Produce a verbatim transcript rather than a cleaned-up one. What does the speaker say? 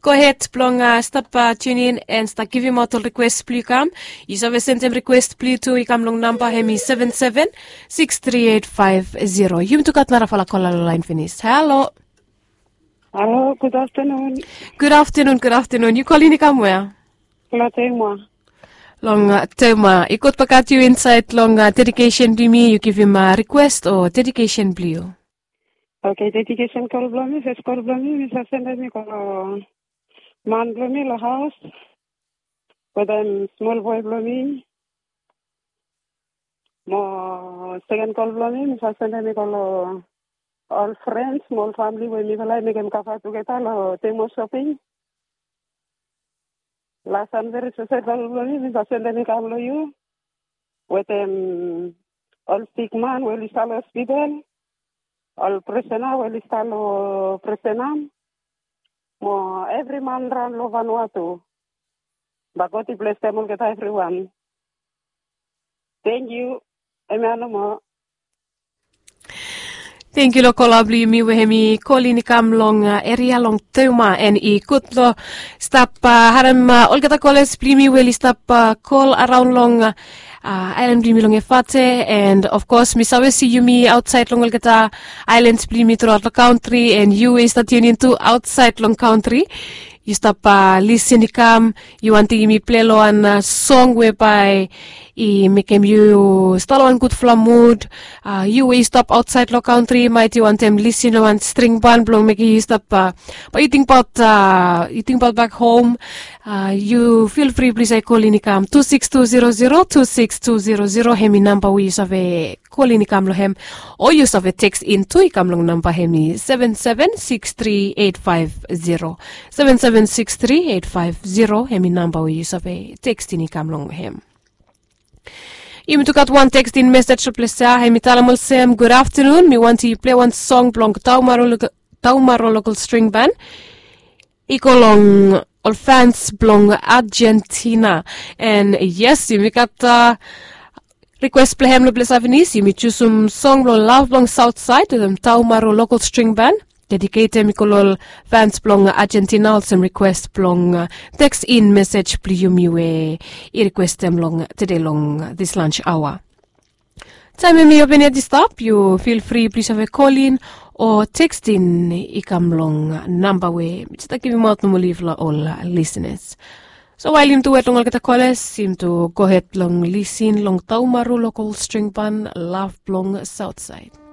Go ahed blong stap tunin and stap givimaot ol rikwes blong yu kam. Yu save sendem rikwes blong yu tu i kam long namba hem i seven seven six three eight five zero. Yumi tu gat narafala kola long lain finis. Halo. Halo, gud aftenun. Gud aftenun, gud aftenun. Yu kolin i kam wea? Long Tema. Long Tema. I gud bagat yu insaed long dedikesen blong yumi, yu givim rikwes o dedikesen blong yu. Oke, dedikesen kol blong mi, fes kol blong mi, mi save sendem i go long man blong mi long haos wetem smol boe blong mi. Mo seken kol blong mi, mi save sendem i go long ol frens mo ol famili we mifala i mekem kava tugeta long Tema Shopping. Las and veri spesel kol blong mi, mi save sendem i kam long yu wetem ol sikman we oli stap long hospital, ol prisena we oli stap long prisena, mo evri man raon long Vanuatu. Bae God i blesem olgeta evriwan. Tangkiu. Hemia nomo. Tangkiu long kola blong yumi we hem i kolin i kam long eria long Tema, and i gud long stap harem olgeta kolas blong yumi we oli stap kol araon long aelan blong yumi long Efate, and of kos mi save si yumi aotsaed long olgeta aelans blong yumi truaot long kantri, and yu we yu stap tunin tu aotsaed long kantri, yu stap lisin i kam, yu wantem yumi pilei long wan song we bae i mekem yu stap long wan gudfala mud. Yu we yu stap aotsaed long kantri, maet yu wantem lisin long wan string ban blong mekem yu stap, bae yu tingbaot, yu tingbaot bak hom. Yu fil fri plis, i kolin i kam tu sikis tu zero zero, tu sikis tu zero zero, hem i namba we yu save kolin i kam long hem, o yu save teksin tu i kam long namba hem i seven seven six three eight five zero. Seven seven six three eight five zero, hem i namba we yu save teksin i kam long hem. Yumi tu gat wan tekstin mesej long ples ya, hem i talem olsem, gud aftenun, mi wantem yu pilei wan song blong Taumaro Local String Ban i go long ol fans blong Argentina. And yes, yumi gat rikwes blong hem long ples ya finis. Yumi jusum song blong Lav blong Saotsaed wetem Taumaro Local String Ban. Dediketem i go long ol fans blong Argentina, olsem rikwes blong teksin mesej blong yumi we i rikwestem long tede long this lunch hour. Taem hem i open yet i stap, yu fil fri plis save kolin o tekstin i kam long namba we mi stap givimaot nomo long yufala ol lisenas. So wael yumi tu wet long olgeta kolas, yumi tu gohed long lisin long Taumaro Local String Ban, Lav blong Saotsaed.